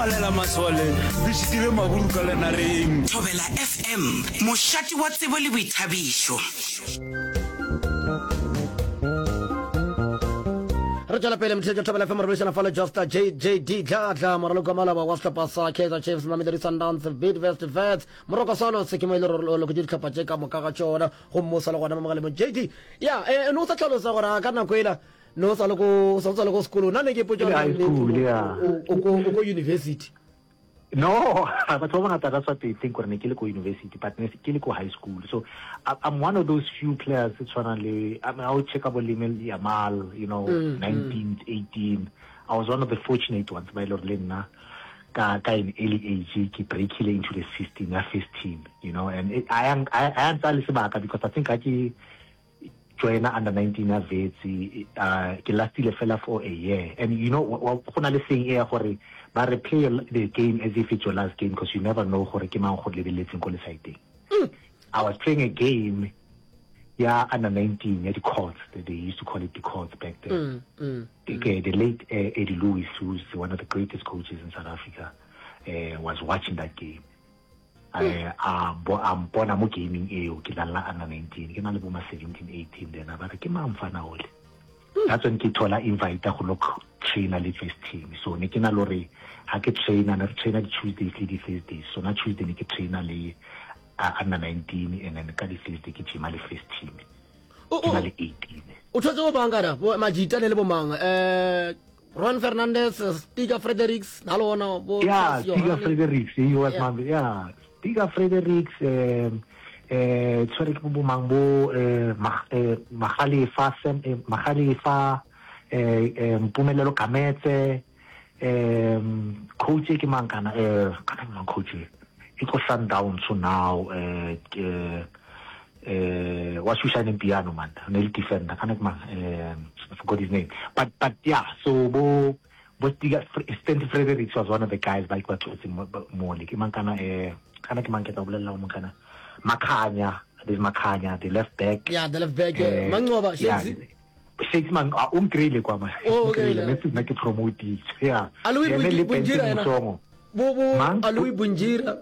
palela masole, re šitile maburu ka lenareng. Thobela FM, mošate wa tsebo le boithabišo. Re tšwela pele motheetši wa Thobela FM re boledišana fa le Josta JJD Dladla moraloki wa maloba wa sehlopha sa Kaizer Chiefs, Mamelodi Sundowns, Bidvest Wits, Moroka Swallows ke mo e le gore o loketše dihlopha tše ka moka ga tšona gomme o sa le gona mo mogaleng JD ya eh, no o sa tlhalosa gore a ka nako ela no o sa le ko sa le ko sekolong na ne ke potša Ke le high school, yeah. o ko o ko university No, batho ba bangata that's what they think gore ne ke le ko university but ne ke le ko high school. So I, I'm one of those few players tse tshwanang le I mean I would check about Lamine Yamal, you know, 19, 18. I was one of the fortunate ones ba ile gore le nna ka ka an early age ke breakile into the system ya first team, you know, and it, I am I I ntsa le sebaka because I think ha ke joina under 19 ya Wits uh, ke lastile fela for a year and you know go na le saying e ya gore ba re play the game as if it's your last game because you never know gore ke mang go lebeletseng ko lesaeteng mm. I was playing a game ya under 19 ya di-courts they, they used to call it the courts back then mm, mm, mm. The, the late uh, Eddie Lewis who's one of the greatest coaches in South Africa uh, was watching that game Eh, a bo a mpona mo gaming eo ke dlalla under 19 ke na le bo ma 17 18 then a ba re ke mang mfana ole that's when ke thola invite go lo trainer le first team so ne ke na le gore ha ke trainer ne re trainer di Tuesdays le di Thursdays so na Tuesday ne ke trainer le uh, under 19 and then ka di Thursday ke gyma le first team ke na le 18 o thotse bo mang kana majita ne le bo mang eh Ron Fernandez, Stiga Fredericks, na le ona bo Yeah, Stiga Fredericks, he was yeah. my yeah. Stiga Fredericks um eh tshwere ke bo mang bo eh, eh Magalefa Sam eh, Magalefa eh, eh Mpumelelo Kametse um coach ke mang kana eh kana ke mang coach e ko Sundowns so now eh eh eh wa Shushan piano man ne le defender kana ke mang eh I forgot his name but but yeah so bo bo Stiga Stanley Fredericks was one of the guys ba ba tlotse mo le ke mang kana eh kana ke mang ke tla bolella mo kana Makhanya there's Makhanya the left back yeah the left back eh, Manqoba Shakes Shakes man a o nkreile kwa man oh, okay ne se nna ke promote yeah Aloe Bunjira ena bo bo Aloe Bunjira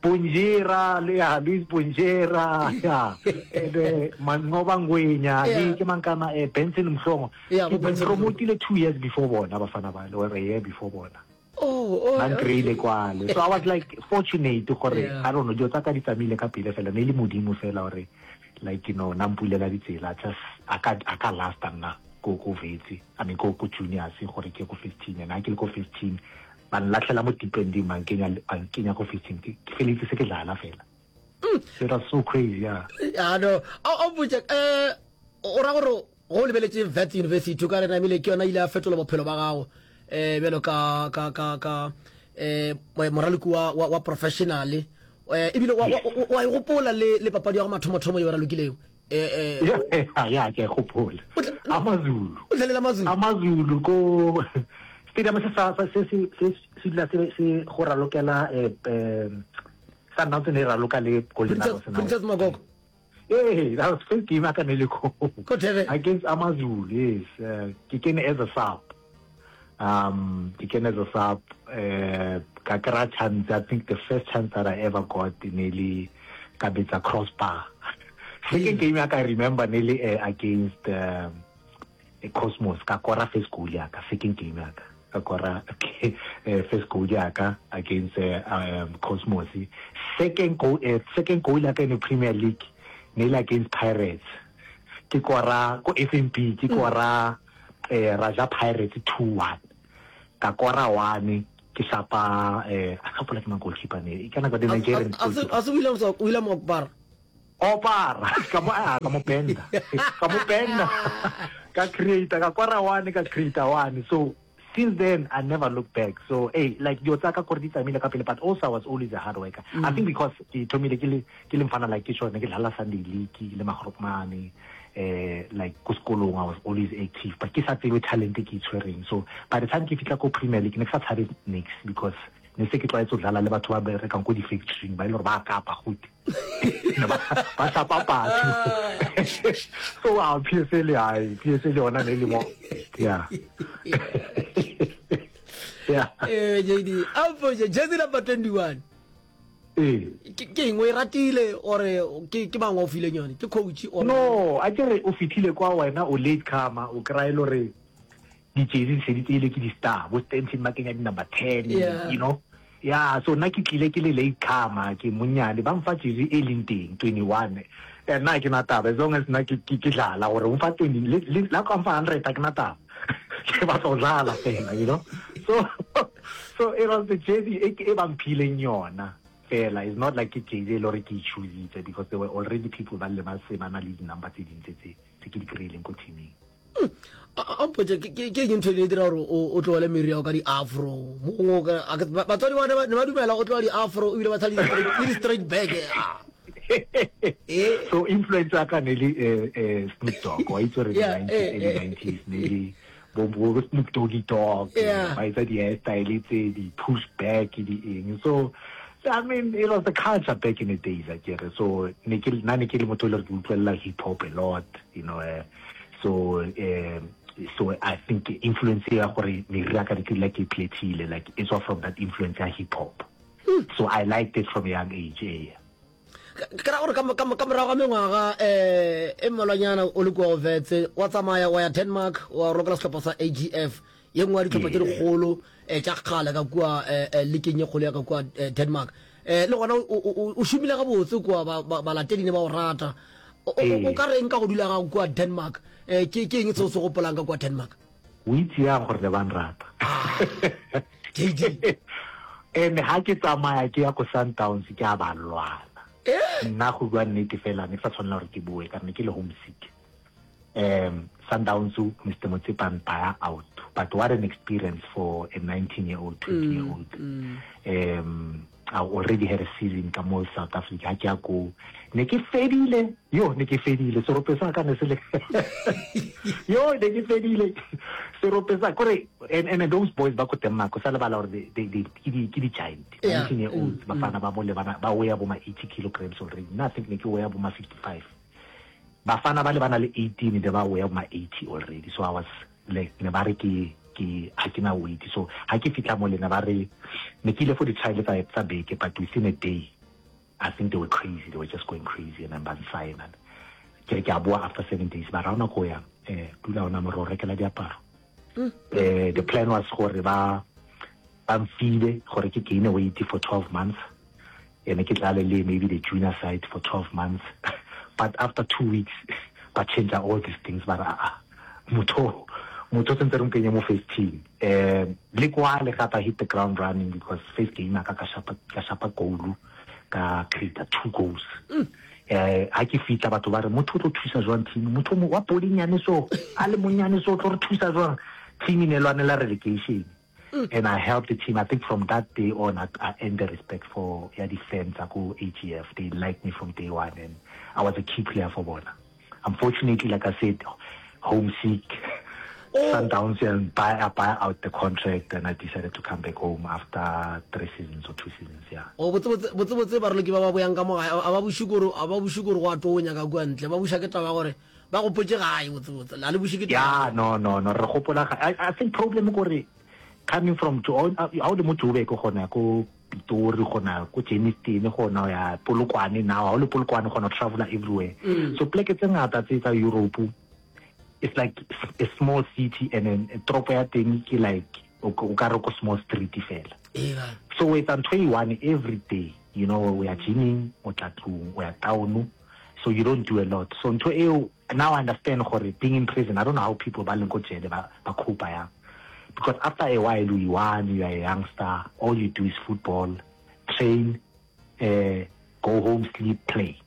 Bunjira le ya Luis Bunjira ya ebe Manqoba Ngwenya le ke mankana eh Benson Mhlongo ke promotile 2 years before bona bafana ba or a year before bona Oh, oh, ba nkreile kwale so i was like fortunate gore i don't know dilo tsa ka di tsamaile ka pele fela ne e le modimo fela gore like you know na mpulela ditsela just a ka a ka lasta nna ko ko vetse i mean ko ko juniors gore ke ko first team and ha ke le ko first team Ba nlatlhela mo deep ending ba nkenya ba nkenya ko first team ke feletse se ke dlala fela. Mm. It was so crazy yeah. Yeah no. A o botse eh o ra gore go lebeletše Wits University o ka re namile ke yona ile ya fetola bophelo ba gago eh bjalo ka ka ka ka eh moraloki wa wa professional eh ebile wa wa e gopola le le papadi ya go mathomothomo ye o ralokilego eh eh ya ke gopola amazulu o dlalela amazulu amazulu ko stadium se sa se se se se dula se se go ralokela eh eh sa nna ne raloka le Golden Arrows Princess Magogo Hey, that was first game I can really go. Against Amazulu, yes. Uh, ke kene as a sub. Um, ke kene as a sub. Uh, ka kry chance, I think the first chance that I ever got ne le ka betsa crossbar. Second game ya ka I remember ne le uh, against um, Cosmos ka kora first goal ya ka second game ya ka ka kora okay, uh, first goal ya ka against uh, um, Cosmos. Second goal uh, second goal ya ka in the Premier League ne le against Pirates. Ke kora ko FNB ke kora eh ra ja Pirates 2-1 ka kora one ke shapa eh a gopola ke mang goalkeeper ne ka nako the Nigerian goalkeeper a se William William Okpara Opara ka mo a ka mo benda ka mo benda ka create ka kora one ka create one so since then I never looked back so hey like dilo tsa ka kore di tsamaile ka pele but also I was always a hard worker mm. I think because ke thomile ke le ke le mfana like ke tšone ke dlala Sunday league le magrotmane eh like ko sekolong I was always active but ke sa tsebe talent e ke itshwereng so by the time ke fitla ko Premier League ne ke sa tshabe nix because ne se ke tlwaetse go dlala le batho ba berekang ko di-factoring ba e le gore ba kapa gote ba hlapa batho so a PSL ai PSL yona ne le mo yeah. Yeah. Eh JD, a mpotše jersey number 21. Ee. Ke ke eng o e ratile or ke ke mang wa o fileng yone? Ke coach or No, a ke re o fihlile kwa wena o late comer, o kry-a e le gore di-jersey di se di tseile ke di-star, bo Stanton ba kenya di-number 10, Yeah. you know. Yeah, so nna ke tlile ke le late comer, ke monnyane, ba mfa jersey e leng teng, 21. Eh, nna ha ke na taba, as long as nna ke ke ke dlala gore o mfa 20, le le la ka mfa 100 ha ke na taba. Ke batla go dlala fela, you know. So so it was the jersey e e ba mphileng yona fela. It's not like ke jersey e le gore ke e choositse because there were already people ba le ba se ba na le di-number tse ding tse tse tse ke di kry-ileng ko teaming. A mpotše ke ke ke eng ntho e ne e dira gore o o tlogele meriri ya gago ka di-afro mo gongwe o ka- a ke- ba- batswadi ba ne ba dumela o tloga di-afro ebile ba tshela le di-straight- le di-straight back ah. Eh. So influence ya ka ne le eh, eh, Snoop Dogg wa itse gore Yeah, 90s eh, early eh. 90s ne le bo bo Snoop Doggy Dogg Yeah. ba etsa di-hairstyle tse di-push back di eng so I mean it was the culture back in the days akere so ne ke nna ne ke le motho e le gore ke utlwelela hip hop a lot you know eh, so eh, so I think influence ya gore meriri ya ka ne ke dula ke e plethile like it's all from that influence ya hip hop so I liked it from a young age eh. Ke ra gore ka morago ga mengwaga um e mmalwanyana o le kua Wits, wa tsamaya wa ya Denmark, wa rokela sehlopha sa AGF, ye nngwe ya dihlopha tše dikgolo um tša kgale ka kua um likeng ye kgolo ya ka kua Denmark. Um le gona o šomile gabotse kua, balatedi ne ba o rata. O ka reng ka go dula gago kua Denmark? Um ke eng se o se gopolang ka kua Denmark? O itse yang gore ne ba nrata. Ah, JD. And ha ke tsamaya ke ya ko Sundowns ke a ba lwana. Eh? Nna go bua nnete fela ne ke sa tshwanela gore ke boe ka ne ke le homesick. Um Sundowns Mr Motsepe a mpaya out. But what an experience for a 19 year old, 20 year old. Um I already had a season ka mo South Africa ha ke ya ko ne ke fedile yo ne ke fedile serope sa ka ne se le yo ne ke fedile serope sa kore and, and those boys ba ko Denmark o sa lebala gore they, they, they, ke di ke di giant Yeah. 19 year olds bafana ba bole bana ba weigh bo ma 80 kilograms already nna I think ne ke weigh bo ma 55 Bafana bale ba na le 18 ne ba weigh ma 80 already so I was like ne ba re ke ke ha ke na weight so ha ke fihla mole ne ba re ne ke ile for di trial tsa tsa beke but within a day I think they were crazy they were just going crazy and then ba nsigna ke re ke a boa after 7 days ba ra ona ko yang eh dula ona mo re o rekela diaparo eh the plan was gore ba ba mfile gore ke gain weight for 12 months Ene ke dlale le maybe the junior side for 12 months but after two weeks ba change all these things ba re aa motho motho sentse re mo kenye mo first team um le kwale gape I hit the ground running because first game ka ka shapa ka shapa goal ka create two goals eh ha ke fitla batho ba re motho o tlo thusa jwang team motho wa podinyane so a le monyane so o tlo re thusa jwang team e ne lwanela relegation And I helped the team. I think from that day on, I, I earned the respect for yeah, the fans. I go AGF. They liked me from day one, and I was a key player for Bona. Unfortunately, like I said, homesick. Oh. Sundowns and buy, I buy out the contract, and I decided to come back home after three seasons or two seasons. Yeah. O botse botse botse baroloki ba ba boyang ka mo gae a ba buše kore a ba buše kore go a tonya ka kua ntle ba buša ke taba gore ba gopotše gae botsebotse la le buše ke yeah no no no re gopola I, I think problem kore coming from to ha o le mo Joburg gona ko Pitori gona ko Germiston gona ya Polokwane now ha o le Polokwane gona traveler everywhere mm. so pleke tse ngata tse tsa Europe it's like a small city and then toropo ya teng ke like o ka re ko small street fela so o etsa ntho e one every day you know o ya gyming o tla tlong o ya town so you don't do a lot so ntho eo now I understand gore being in prison I don't know how people ba leng ko jele ba ba cope yang because after a while you one you are a youngster all you do is football train uh, go home sleep play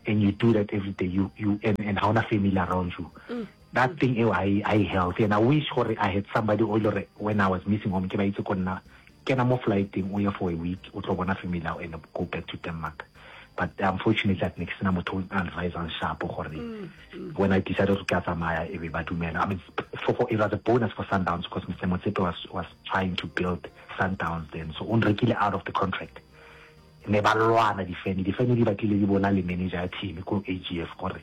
and you do that every day you you and, and ha ona family around you mm. that thing eo I I healthy and I wish gore I had somebody o ile when I was missing home ke ba itse ko nna kena mo flighteng o ye for a week o tlo bona family ya and go back to Denmark but unfortunately at ne ke sena motho o advisang sharp gore mm, mm. when I decided to ke a tsamaya e be ba dumela I mean for, for, it was a bonus for Sundowns because Mr Motsepe was, was trying to build Sundowns then so o nrekile out of the contract ne ba lwana difene difene di batlile di bona le manager ya team ko AGF gore.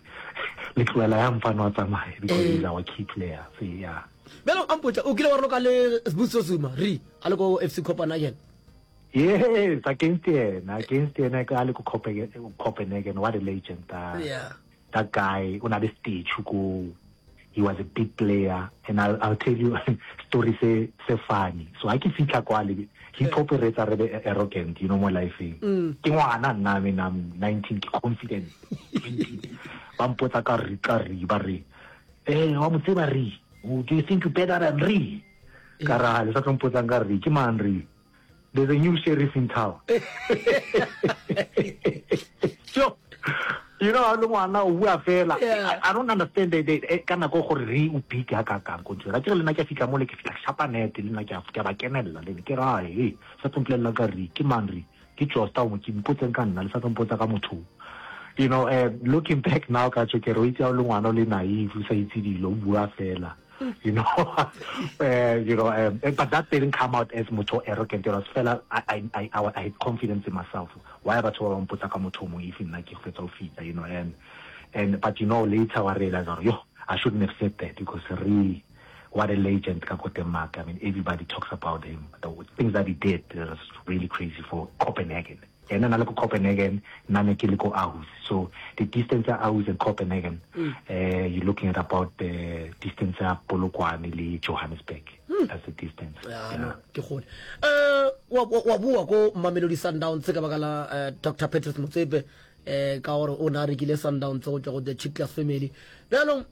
Le tlohela ya mfano a tsamaye because he's our key player. So yeah. Bjalo a mpotša, o kile wa raloka le Sbusiso Zuma, re, a le ko FC Copenhagen? Yes, against yena, against yena a le ko Copenhagen, what a legend. Uh, yeah. That guy, o na le statue ko, he was a big player and I'll, I'll tell you story se se funny. So ha ke fihla kwale, hip hop e re etsa re be arrogant, you know, mo life-eng. Ke ngwana nna, I mean, I'm 19, ke confident. 20. Ba mpotsa ka re, ka re, ba re, eh, wa mo tseba re, do you think you better than re? Ka ra, le sa tlo mpotsang ka re, ke mang re? There's a new sheriff in town. Sure. You know, le ngwana o bua fela. Yeah. I, I don't understand the, the, eh, ka nako gore re o big ha ka kang ko ntho. Ra ke le nna ke fihla mo le ke fihla ke shapa net le nna ke a ke ba kenella le ke ra he sa tlo mpolelela ka re ke mang re ke Josta o mo ke mpotseng ka nna le sa tlo mpotsa ka motho. You know, uh, looking back now ka tso ke re o itse ha o le ngwana o le naive o sa itse dilo o bua fela. you know, uh, you know, um, eh, but that didn't come out as motho arrogant. It was fela, I, I, I, I, I had confidence in myself. Why batho ba mpotsa ka motho o mongwe if nna ke fetsa ho fihla, you know, and, and, but you know, later I realized, yo, I shouldn't have said that because really, what a legend ka ko Denmark. I mean, everybody talks about him. The things that he did was really crazy for Copenhagen. Yena na le ko Copenhagen, nna ne ke le ko Aarhus. So the distance ya Aarhus and Copenhagen, mm. uh, you're looking at about the distance ya Polokwane le Johannesburg. Mm. That's the distance. Yeah, yeah. No, ke gole. Eh wa wa bua ko Mamelodi Sundowns ka baka la eh, Dr. Patrice Motsepe eh ka gore o na rekile Sundowns go tswa go the Chiclas family. Bjalong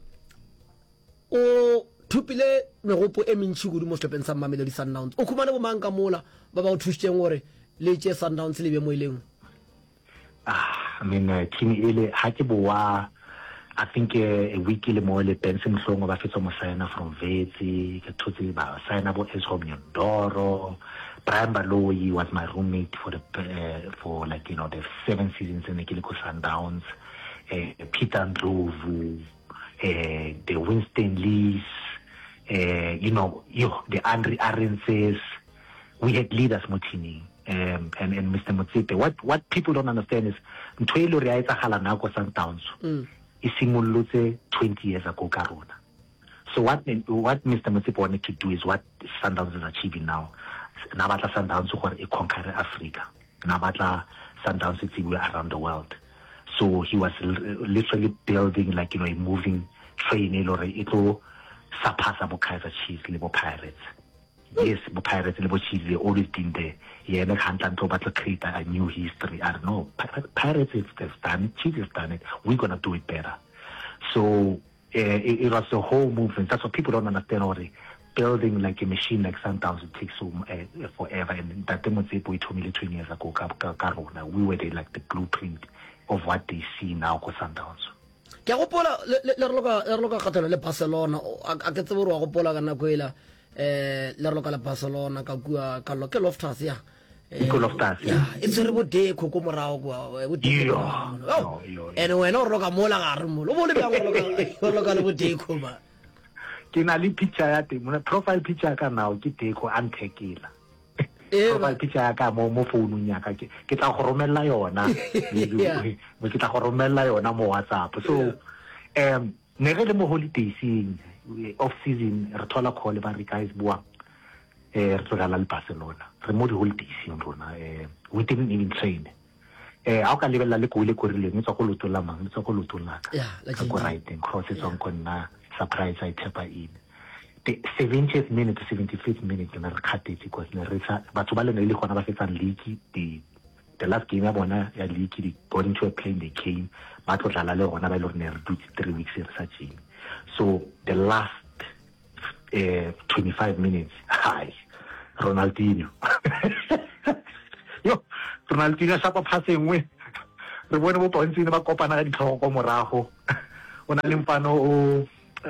O thopile megopo e mentši kudu mo sehlopheng sa Mamelodi Sundowns. O khumane bomang ka mola ba ba go thušitšeng gore le tšee Sundowns le be mo e leng? Ah, I mean, uh, team ele ha ke boa I think uh, a week le mo le Benson Mhlongo ba fetsa mo signa from Wits, ke thotse ba signa bo Ezra Mnyondoro. Brian Baloyi was my roommate for the uh, for like you know the seven seasons in the ke le ko Sundowns. Uh, Peter Ndlovu eh, the Winston Lees, eh, you know, yo, the Andre Arendses. We had leaders mo teaming. Um, and, and Mr. Motsepe. What, what people don't understand is, ntho e le re a etsagala nako Sundowns, mm. e simolotse 20 years ago ka rona. So what, what Mr. Motsepe wanted to do is what Sundowns is achieving now. Na batla Sundowns gore e conquer Africa. Na batla Sundowns e tsebiwe around the world. So he was literally building like, you know, a moving train e le gore e tlo surpassa bo Kaizer Chiefs le bo Pirates. Yes, bo Pirates le bo Chiefs, they always been there. Yena hantle o batla create a new history. I don't know. Pirates have done it, Chiefs have done it. We're gonna do it better. So eh, it, it was the whole movement. That's what people don't understand already. Building like a machine like Sundowns, it takes so uh, forever. And Ntate Motsepe o thomile 20 years ago ka, ka, ka rona. We were the, like the blueprint of what they see now ko Sundowns. Ke a gopola le le le raloka le raloka kgathalo le Barcelona a a ke tsebe gore wa gopola ka nako ela eh le raloka le Barcelona ka kua ka lo ke Loftus ya Eh, Ke Loftus, ya e tshwere bo Deco ko morago kua eh, bo Deco ko morago. Oh, and wena o raloka mola gare mola o bo le bjang o raloka o raloka le bo Deco ba Ke na le picture ya teng, mona profile picture ya ka now ke Deco a nthekela. Eh, Profile picture ya ka mo mo founung ya ka ke ke tla go romella yona. Yeah. Ke tla go romella yona mo WhatsApp. So um ne re le mo holidays-eng off season re thola call ba re guys boang eh re tlo dlala le Barcelona re mo di-holidays-eng rona eh we didn't even train eh ha o ka lebelela le goal e korileng e tswa ko leotong la mang e tswa ko leotong la ka Yeah, la ka ko JJ. righteng cross e tswang ko nna surprise a e thepa in the 70th minute to 75th minute ne re kgathetse because ne re sa batho ba le ne le gona ba fetsang league the the last game ya bona ya league they got into a plane they came ba tlo dlala le rona ba ile gore ne re dutse three weeks re sa gym so the last eh 25 minutes hai Ronaldinho yo Ronaldinho shapa pass e nngwe re bone bo Pontshini ba kopana ka ditlhogo ko morago o na le mfano o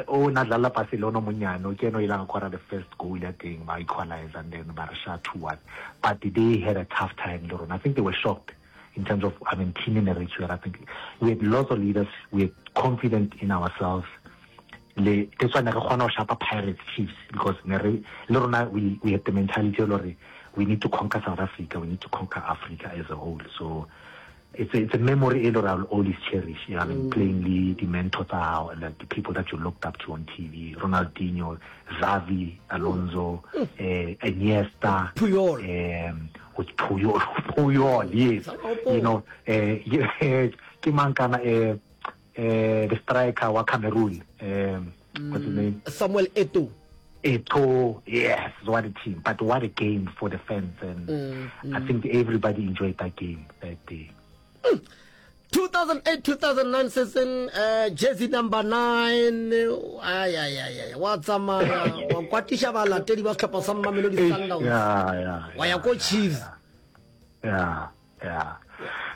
o na dlala Barcelona monyane o ke ene o ile a kora the first goal ya teng ba equalize and then ba re sha 2-1 but they had a tough time le rona I think they were shocked in terms of I mean team in the I think we had lots of leaders we were confident in ourselves le that's why ne re kgona go shapa Pirates Chiefs because ne re le rona we we had the mentality ya gore we need to conquer South Africa we need to conquer Africa as a whole so. It's a, it's a memory e le gore I will always cherish. You know, I mean, mm. playing le di-mentor tsa hao and like, the people that you looked up to on TV, Ronaldinho, Xavi, Alonso, mm. eh, Iniesta, Puyol, um, with Puyol, Puyol, yes, you know, eh, ke mang kana eh, eh, the striker wa Cameroon, um, what's his name? Samuel Eto'o. Eto'o, yes, what a team. But what a game for the fans. And mm, mm. I think everybody enjoyed that game that day. 2008-2009 season uh, jersey number 9 ay ay ay ay wa tsamaya wa kwatiša balatedi ba sehlopha sa Mamelodi Sundowns wa ya ko Chiefs yeah yeah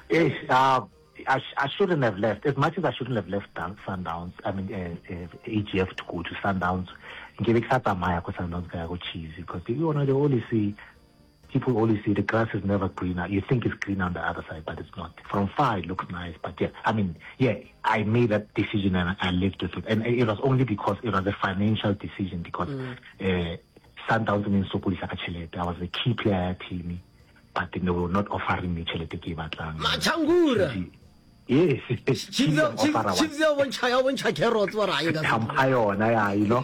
yeah uh, I, I shouldn't have left. As much as I shouldn't have left Sundowns, I mean, uh, uh, AGF to go to Sundowns, nke be ke sa tsamaya ko Sundowns ka ya ko Chiefs because you know they always say people always say the grass is never greener. You think it's greener on the other side, but it's not. From far it looks nice, but yeah, I mean, yeah, I made that decision and I lived with it. And it was only because it was a financial decision because mm. uh, Sundowns ne nsokodisa ka tšhelete. I was a key player ya team. But they were not offering me tšhelete ke e batlang. Machangura. Yes. Chiefs ya bontšha ya bontšha carrots wa ra ka. Thampa yona ya you know.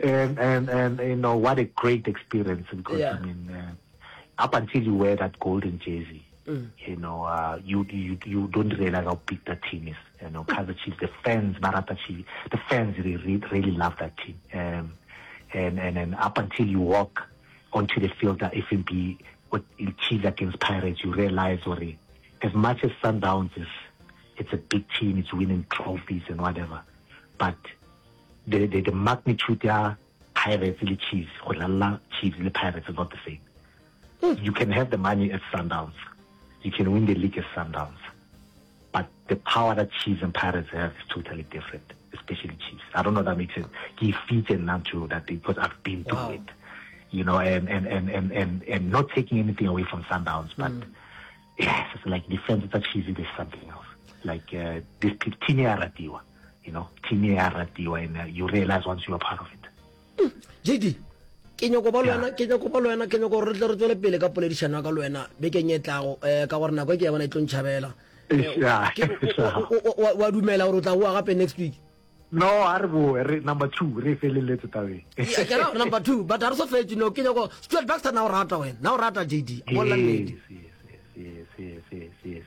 and and and you know what a great experience because yeah. I mean uh, up until you wear that golden jersey mm. you know uh, you you you don't realize how big that team is you know Kaizer Chiefs the fans ba rata Chiefs the fans really really love that team um and and and up until you walk onto the field at FNB with Chiefs against Pirates, you realize gore as much as Sundowns is it's a big team, it's winning trophies and whatever, but the, the, the magnitude ya Pirates le Chiefs, go dlala Chiefs le Pirates is not the same. You can have the money at Sundowns, you can win the league at Sundowns, But the power that Chiefs and Pirates have is totally different, especially Chiefs. I don't know if that makes sense. Ke fitse nna to that thing because I've been through wow. it. You know, and, and, and, and, and, and not taking anything away from Sundowns, but mm. yes, it's like defense tsa Chiefs is something else. Like uh, this team ya ratiwa, you know, team ya ratiwa and uh, you realize once you are part of it. JD, ke nyako ba le wena ke nyako ba le wena ke nyako gore re tle re tswele pele ka poledišano ya ka le wena bekeng e tlago um ka gore nako e ke ya bona e tlo ntšhabela eh, wa dumela gore o tla boa gape next week no a re boe re number two re feleletse tabeng ke ra number two but a re so fetse no ke nyako stuart baxter na o rata wena na o rata jd bolla nnete yes yes yes yes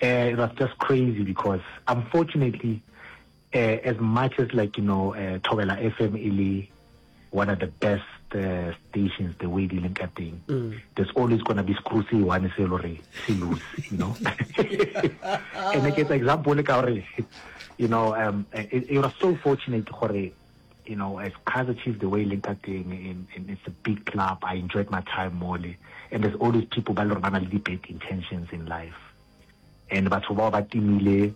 uh, it was just crazy because unfortunately uh, as much as like you know uh, Thobela FM e le one of the best uh, stations the way di leng ka teng mm. there's always gonna be screw se one se lore se loose you know and ke etsa example ka gore you know um it, it was so fortunate gore you know as Kaizer Chiefs the way leng ka teng and, and it's a big club I enjoyed my time more and there's always people ba le gore ba na le di bad intentions in life and batho bao ba timile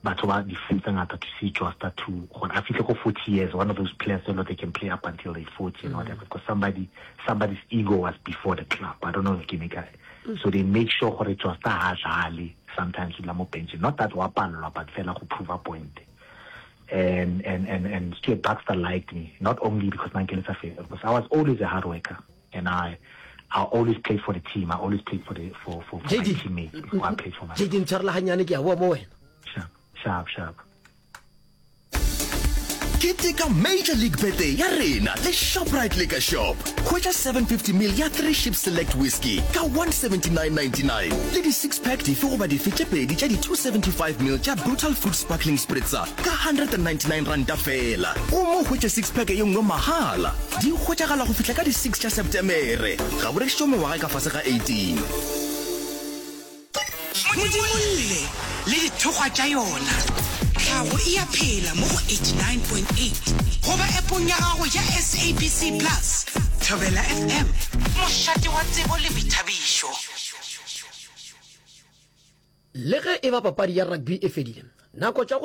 batho ba di-fan tse ngata to see Josta to gore a fihle go 40 years one of those players so they can play up until they 40 and whatever because somebody somebody's ego was before the club I don't know if ke ne ka so they make sure gore Josta ha dlale sometimes o dula mo bench not that wa palelwa but fela go prove a point and and and and Stuart Baxter liked me not only because na nkeletsa favor because I was always a hard worker and I I always played for the team. I always played for the for for, for my teammates before I played for myself. JD ntshwarela ganyane ke a boa mo wena. Sharp, sharp, sharp. Keteka Major League Birthday ya rena le Shoprite Liquor Shop. Hwetša 750 ml ya 3 Ship Select Whisky ka 179.99 le di six pack dife goba dife tše pedi tša di 275 ml tša Brutal Fruit Sparkling Spritzer ka 199 ranta feela. Gomme o hwetše six pack ye nngwe mahala. Di hwetšagala go fihla ka di 6 tša Setemere. Ga bo rekišetšwe mengwaga e ka fase ga 18. Modimolle le dithokgwa tša yona. Tlhago e a phela mo go 89.8 goba appong ya gago ya SABC Plus. Thobela FM, mošate wa tsebo le boithabišo. Le ge e ba papadi ya rugby e fedile, nako tša go.